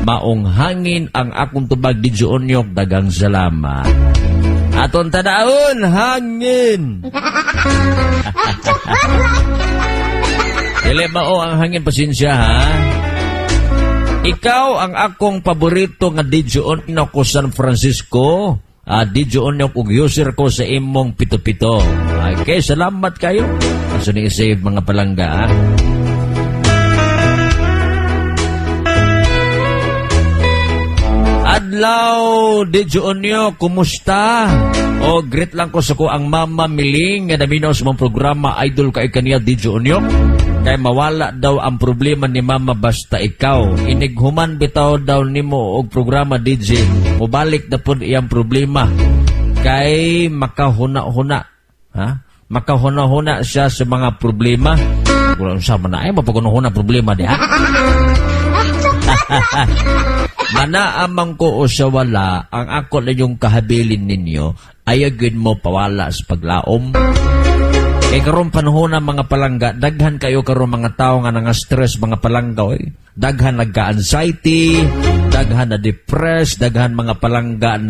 Maong hangin ang akong tubag, DJ Onyok, dagang salamat. Aton tadaon, hangin. Dili mao ang hangin, pasensya ha. Ikaw ang akong paborito nga DJ Onyok ko San Francisco. DJ Onyok ug user ko sa imong pito-pito. Okay, salamat kayo. Aso ni save mga palangga. Ha? Adlaw, DJ Onyok, kumusta? O, great lang ko sa ko ang Mama Miling nga naminaw sa mong programa. Idol kay kaniya, DJ Onyok. Kay mawala daw ang problema ni Mama basta ikaw. Inighuman bitaw daw nimo og programa, DJ. Mubalik na pud iyang problema. Kay makahuna-huna. Ha? Makahuna-huna siya sa mga problema. Wala sa man ay mapaguna-huna problema diha. Manaamang ko o sa wala, ang ako na yung kahabilin ninyo, ayagin mo pawala sa paglaom. Kay karon panahon na mga palangga, daghan kayo karon mga tao nga nanga-stress mga palangga oy. Daghan nagka-anxiety, daghan na depressed, daghan mga palangga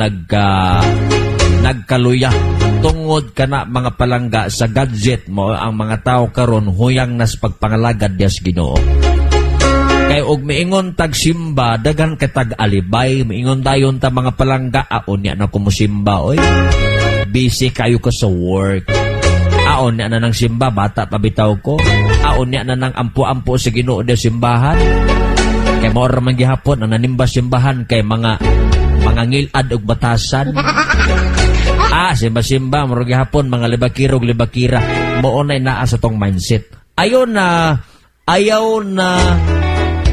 nagkaluya. Tungod kana mga palangga sa gadget mo ang mga tao karon huyang nas pagpangalagad dias Ginoo. Kay og miingon tag simba, daghan kay tag alibay, miingon dayon ta mga palangga, unya na kumusimba oy. Busy kayo ka sa work. Aon niya na ng simba, bata pa bitaw ko. Aon niya na ng ampo-ampo sa Ginoo de simbahan. Kay mao ra man gihapon ang nanimba simbahan kay mga ngilad og batasan. Simba-simba mao ra gihapon mga libakirog libakira. Mao nay naa sa tong mindset. Ayaw na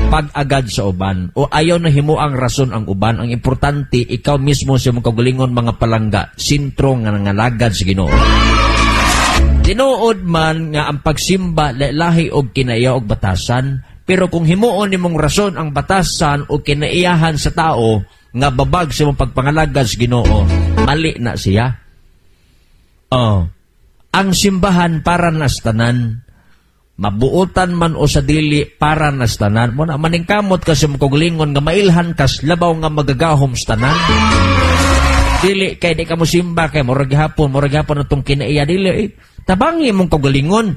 pag-agad sa uban o ayaw na himo ang rason ang uban. Ang importante, ikaw mismo sa imong kaugalingon mga palangga, sentro nga nangalagad sa Ginoo. Tinuod man nga ang pagsimba lahi og kinaiya og batasan, pero kung himuon nimong rason ang batasan o kinaiyahan sa tao nga babag sa imong pagpangalagad sa Ginoo, mali na siya. Oh, ang simbahan para nas tanan, mabuotan man o sa dili para nas tanan. Mo na maningkamot ka sa imong kaugalingon nga mailhan kas labaw nga magagahom sa tanan. Dili kay di ka mosimba kay murag gihapon atong kinaiya dili eh. Tabangi mong kaugalingon.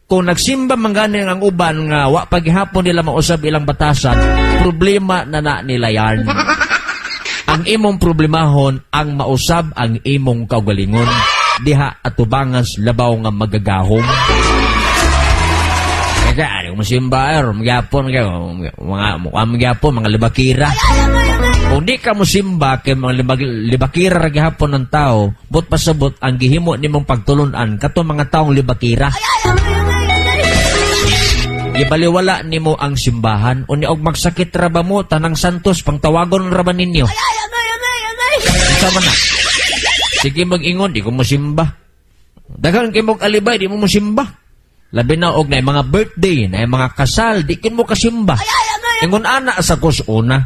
Kung nagsimba man gani ang uban nga wa pa gihapon nila mausab ilang batasan, problema na na nila yan. Ang imong problemahon ang mausab ang imong kaugalingon diha atubangan sa labaw nga magagahom. Kaya ano mosimba magyapon kayo mga magyapon mga libakira. Kung di ka mosimba kay mga libakira ra gihapon ng tao, but pasabot ang gihimo nimong pagtulun-an kato mga taong libakira. Gibaliwala nimo ang simbahan unya og magsakit ra ba mo tanang santos pangtawagon ra ba ninyo? Unsa man na? Sige mag-ingon di ko mosimba. Daghan kay mog alibay di mo mosimba. Labi na og na mga birthday, na mga kasal, di kin mo kasimba. Ingon ana sa kus una.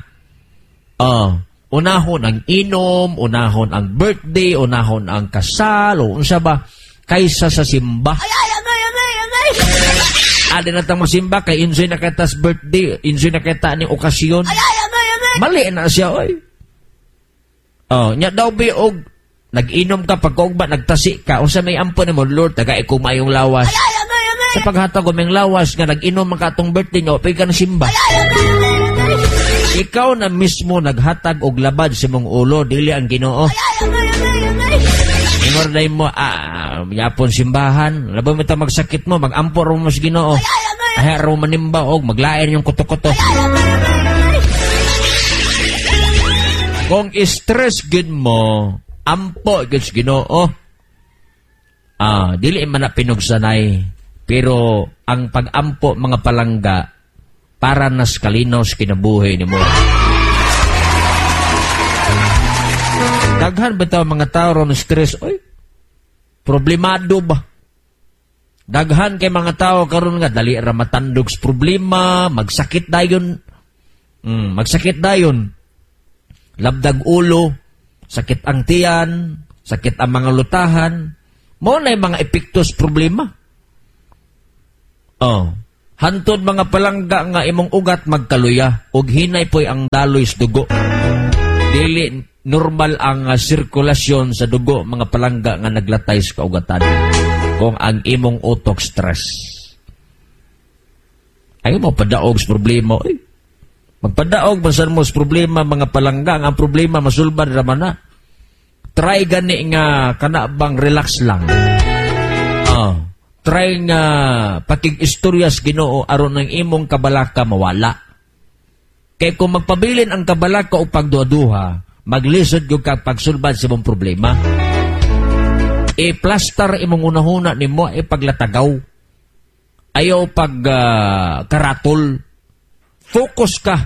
Unahon ang inom, unahon ang birthday, unahon ang kasal, o unsa ba kaysa sa simba. Adi na tang mosimba kay enjoy na kita sa birthday, enjoy na kita ni okasyon. Mali na siya oy. Oh, nya daw bi og nag-inom ka pagkaugba nagtasi ka, unsa may ampo nimo, Lord, taga ko mayong lawas. Sa paghatag ko ming lawas nga nag-inom man ka atong birthday nga pay ka na simba. Ikaw na mismo naghatag og labad sa imong ulo, dili ang Ginoo. Ingor day mo, yapon simbahan, labaw mo ta magsakit mo, magampo ra mo sa Ginoo. Ay ra manimba og maglain yung kuto-kuto. Kung stress gid mo, ampo gid sa Ginoo. Dili man na pinugsanay. Pero ang pag-ampo mga palangga para nas kalinaw sa kinabuhi nimo. Daghan bitaw mga tao ron stress, oy. Problemado ba? Daghan kay mga tao karon nga dali ra matandog sa problema, magsakit dayon. Magsakit dayon. Labdag ulo, sakit ang tiyan, sakit ang mga lutahan. Mao na mga epekto sa problema. Oh, Hantod, mga palangga, nga imong ugat magkaluya ug hinay poy ang daloy sa dugo. Dili normal ang sirkulasyon sa dugo, mga palangga, nga naglatay sa kaugatan kung ang imong utok stress. Ayaw mo padaog sa problema. Eh, magpadaog man mo sa problema, mga palangga, ang problema masulbad raman na. Try gani nga kana bang relax lang. Oh, try nga pakig-istorya sa Ginoo aron ang imong kabalaka mawala. Kay kung magpabilin ang kabalaka o pagduha-duha, maglisod gyud ka pagsulbad sa imong problema. I-plaster imong unahuna nimo, ipaglatagaw. Ayaw pag karatol. Focus ka.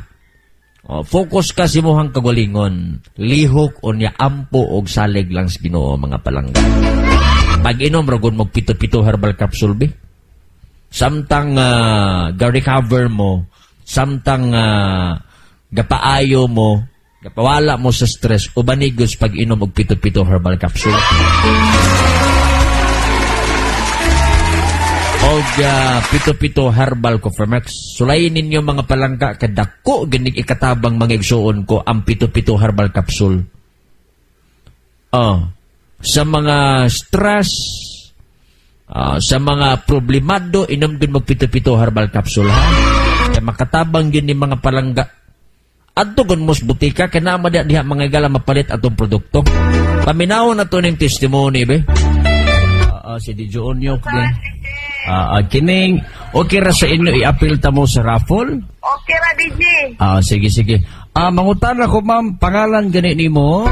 Oh, focus ka sa imong kagalingon. Lihok unya ampo og salig lang sa Ginoo, mga palangga. Pag-inom ra gud mo pito-pito herbal capsule be. Samtang ga-recover mo, samtang gapaayo mo, gapawala mo sa stress, uban gud sa pag-inom og pito-pito herbal capsule og pito-pito herbal Cofermex. Sulayin ninyo, mga palangka, kadako ganig ikatabang, mga igsuon ko, ang pito-pito herbal capsule. Oh, sa mga stress, sa mga problemado, inom din mo pito-pito herbal capsule, ha. Kaya makatabang yun ni mga palangga. Adto gun mos butika kay naa man diha, mga igala, mapalit atong produkto. Paminawon na to ning testimony be. Si DJ Onyok din. Kining okay ra sa inyo i-appeal ta mo sa raffle? Okay ra, DJ. Sige sige. Mangutan ako, ma'am, pangalan gani nimo?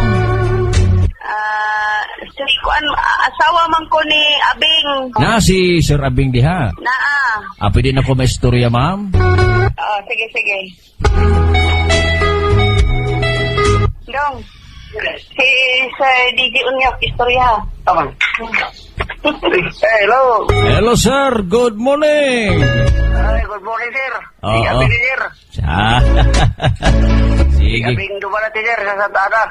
Si kuan, asawa man ko ni Abing. Na si Sir Abing diha. Naa. Pwede na ko may istorya, ma'am? Oh, sige sige. Dong. Si Sir DJ Unyok, istorya. Tama. Hey, hello. Hello, sir, good morning. Ay, good morning, sir. Oo. Si Abing, sir. Sige. Si Abing Dumalate, sir, sa Santa Ana.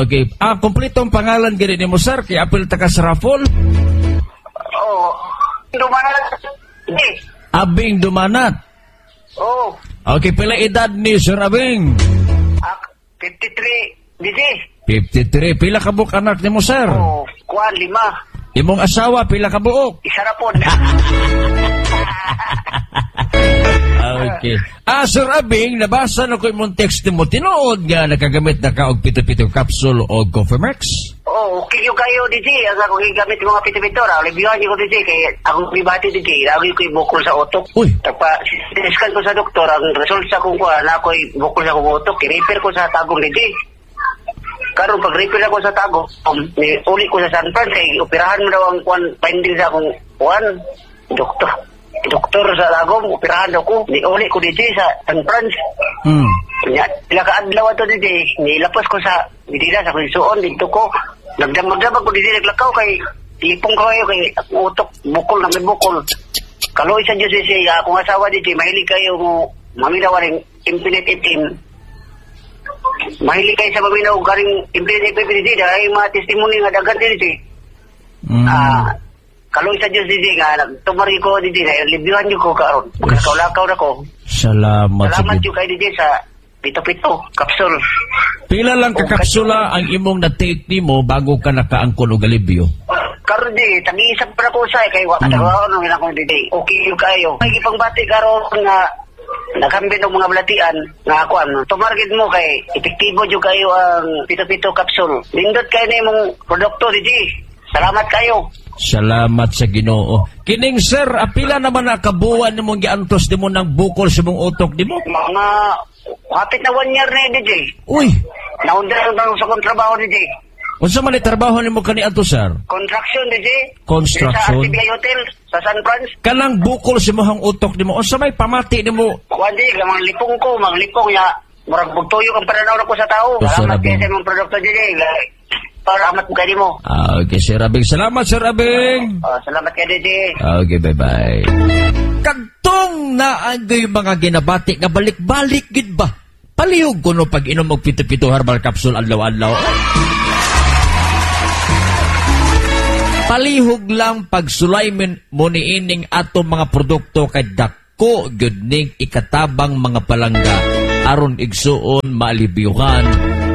Okay. Kompletong pangalan gani nimo, sir, kay apil ta ka sa raffle? Oo. Dumalate. Eh. Abing Dumanat. Oo. Okay, pila edad ni Sir Abing? 53, DJ. 53. Pila ka buok anak nimo, sir? Oo. Kuan, 5. Imong asawa, pila ka buok? Isa na po. Okay. Sir Abing, nabasa na ko imong text nimo. Tinuod nga nakagamit na ka og pito-pito capsule o Cofermex? Oo, okay yung kayo, DJ. Ang ako gigamit mga pito-pito. Alibihan niyo ko, DJ. Kaya akong pribati, DJ. Lagi ko'y bukol sa utok. Uy. Tagpa, scan ko sa doktor. Ang result sa akong kuha, na ako'y bukol sa akong utok. I-repair ko sa tagong, DJ. Karon pag repair ako sa tago, ni uli ko sa San Fran kay operahan mo daw ang kuan finding sa akong kuan doktor. Doktor sa Tagum, operahan daw ko. Ni uli ko DJ sa San Fran. Nya, pila ka adlaw ato, DJ, nilapos ko sa Medina sa akong dito ko. Nagdamag-damag ko, DJ, naglakaw kay lipong ko kayo kay akong utok bukol na may bukol. Kaloy sa Diyos, DJ, akong asawa, DJ, mahilig kayo mo maminaw ring Infinite FM. Mahilig kayo sa maminaw garing Infinite FM, DJ, dahil mga testimony nga daghan, DJ. Kaloy sa Diyos, DJ, nga nagtumari ko, DJ, na libyuhan niyo ko karon. Magkakaw-lakaw na ko. Salamat sa Salamat yung kay DJ sa pito-pito kapsul. Pila lang ka kapsula ang imong na-take nimo bago ka nakaangkon og alibyo? Karon di, tagi-isa pa na ko usay kay wa katrabaho nung ilang kong DJ. Okay yung kayo. May ipangbati karon nga naghambin og mga balatian nga kuan. Tumargit mo kay epektibo jud kayo ang pito-pito kapsul. Nindot kay na imong produkto, DJ. Salamat kayo. Salamat sa Ginoo. Kining sir, apila naman na kabuwan nimong giantos nimo ng bukol sa imong utok nimo? Mga hapit na 1 year na, DJ. Uy. Naundra lang sa akong trabaho, DJ. Unsa man ni trabaho nimo kani adto, sir? Construction, DJ. Construction. Sa RTBI Hotel sa San Franz. Kanang bukol sa imong utok nimo, unsa may pamati nimo? Kuan di, mga lipong ko, mga lipong ya. Murag bugtuyo ang pananaw ko sa tao. Oh, Salamat Sir kay Abing. sa imong produkto, DJ. Para amat mo kay mo. Okay, Sir Abing. Salamat, Sir Abing. Oh, salamat kay DJ. Okay, bye-bye. Kagtong naandoy mga ginabati nga balik-balik gid ba? Palihog ko no pag inom og pito-pito herbal capsule adlaw-adlaw. Palihog lang pag sulay mo niining ato mga produkto kay dako Dako gyud ning ikatabang, mga palangga, aron, igsuon, maalibyuhan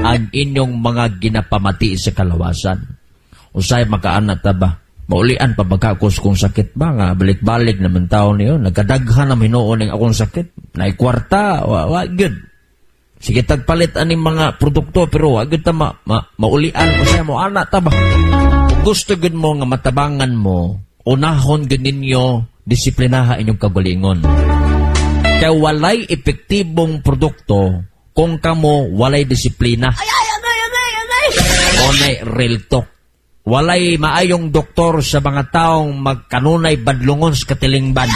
ang inyong mga ginapamati sa kalawasan. Usay makaana ta ba? Maulian pa magkakos kung sakit ba nga balik-balik naman taon niyo. Nagkadaghan na hinuon ang akong sakit. Naikwarta, wa gyud. Sige, tagpalit aning mga produkto pero wa gyud ta maulian. Usay mo ana ta ba? Kung gusto gyud mo nga matabangan mo, unahon gyud ninyo disiplinaha inyong kagalingon. Kay walay epektibong produkto kung kamo walay disiplina. Ay, ay, agay, agay, agay! Onay real talk. Walay maayong doktor sa mga taong magkanunay badlungon sa katilingban.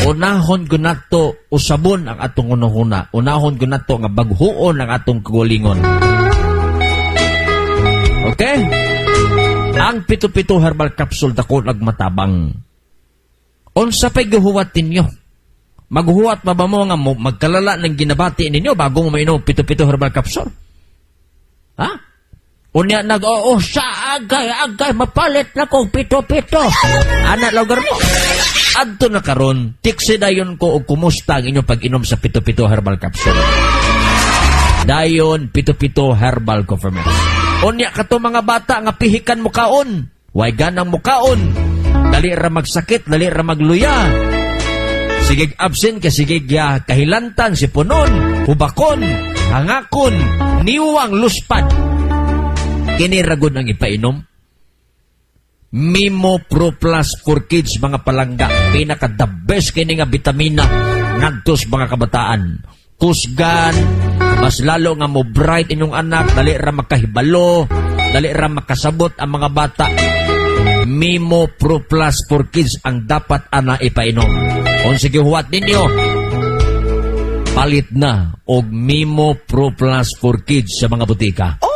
Unahon ko nato usabon ang atong hunahuna. Unahon ko nato nga baghuon ang atong kagalingon. Okay? Ang pito-pito herbal capsule dako nagmatabang. Unsa pa'y gihuwat ninyo? Maghuwat pa ba mo nga mo magkalala ng ginabati ninyo bago mo mainom pito-pito herbal capsule? Ha? Unya nag oo sa agay agay mapalit na kong pito-pito. Ana lugar mo. Adto na karon, tiksi dayon ko og kumusta ang inyong pag-inom sa pito-pito herbal capsule. Dayon pito-pito herbal coffee mix. Unya kato mga bata nga pihikan mukaon. Way ganang mukaon. Dali ra magsakit, dali ra magluya. Sige absent ka, sige ya, kahilantan, sipunon, hubakon, hangakon, niwang luspad. Kini ragod ang ipainom. Mimo Pro Plus for Kids, mga palangga. Pinaka the best kini nga bitamina ngadto sa mga kabataan. Kusgan, mas lalo nga mo bright inyong anak, dali ra makahibalo, dali ra makasabot ang mga bata. Mimo Pro Plus for Kids ang dapat ana ipainom. Kung sige huwat ninyo, palit na og Mimo Pro Plus for Kids sa mga butika. Oh!